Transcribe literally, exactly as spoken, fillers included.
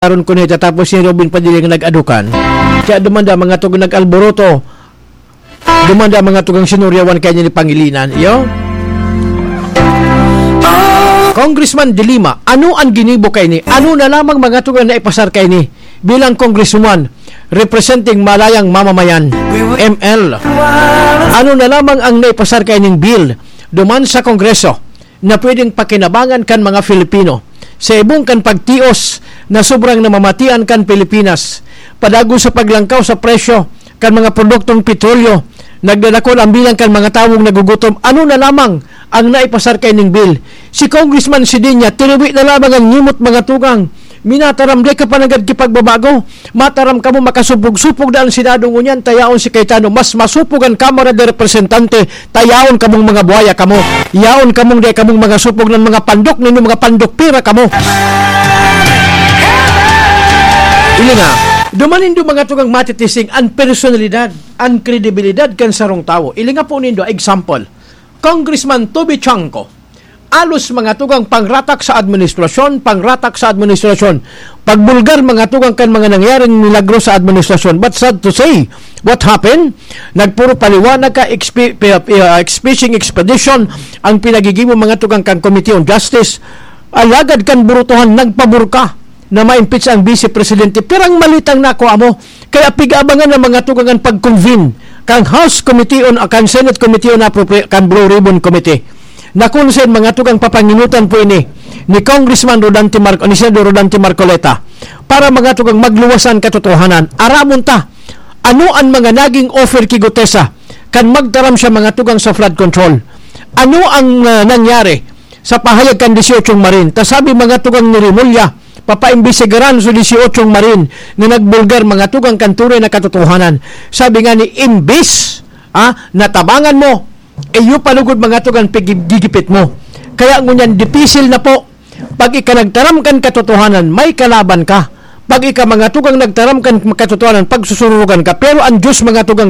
Aron kuno itatapos ni Robin Padilla nga nag-adukan. Kaya dumanda mga tugang nag-alboroto. Dumanda mga tugang sinuryawan kaya ni Pangilinan. Iyo? Congressman De Lima, ano ang ginibo kay ni? Ano na lamang mga tugang na ipasar kay ni bilang congresswoman representing Malayang Mamamayan, M L? Ano na lamang ang naipasar kay ning bill duman sa Kongreso na pwedeng pakinabangan kan mga Filipino sa ibong kan pagtios na sobrang namamatian kan Pilipinas, padagon sa paglangkaw sa presyo kan mga produktong petrolyo, nagdadakol ang bilang kan mga tawong nagugutom. Ano na lamang ang naipasar kay ning bill? Si Congressman Sidinya, tiniwi na lamang ang nimot mga tugang. Minataram, di ka pa nagad kipagbabago. Mataram kamo, makasupog-supog na ang Senado ngunyan, ta yaon si Cayetano. Mas masupog ang Kamara de Representante, ta yaon kamong mga buhaya kamo. Yaon kamong di kamong mga supog ng mga pandok ninyo, mga pandok pira kamo. Ili nga, duman nindo mga tugang matitising an personalidad, an kredibilidad kan sarong tawo. Ili nga po nindo, example, Congressman Toby Chanco, alos mga tugang pangratak sa administrasyon, pangratak sa administrasyon. Pagbulgar mga tugang kan mga nangyaring milagro sa administrasyon. But sad to say, what happened? Nagpuro paliwanag ka, expi-, pi-, pi-, uh, fishing expedition ang pinagigibo mga tugang kan Committee on Justice. Alagad kan burutuhan, nagpabor ka na ma-impeach ang Vice Presidente. Pirang malitang nakuha mo? Kaya pigabangan ng mga tugang an pag-convene kan House Committee on, kan Senate Committee on Appropri-, kan Blue Ribbon Committee. Nakon sa mga tugang papanginutan po ini ni Congressman Rodante Marco, ni Senador Rodante Marcoleta, para mga tugang magluwas an katotohanan. Aramon ta, ano an mga naging offer ki Gutesa kan magtaram siya mga tugang sa flood control? Ano ang, ah, nangyari sa pahayag kan dieciocho Marine? Ta sabi mga tugang ni Remulla, papaimbestigaran sa dieciocho Marine na nagbulgar mga tugang kan tunay na katotohanan. Sabi nga ni, imbis, ah, natabangan mo, iyo palugod mga tugang pigigipit mo. Kaya ngunyan, dipisil na po. Pag ika nagtaram kan katotohanan, may kalaban ka. Pag ika mga tugang nagtaram kan katotohanan, pagsusurugan ka. Pero ang Diyos mga tugang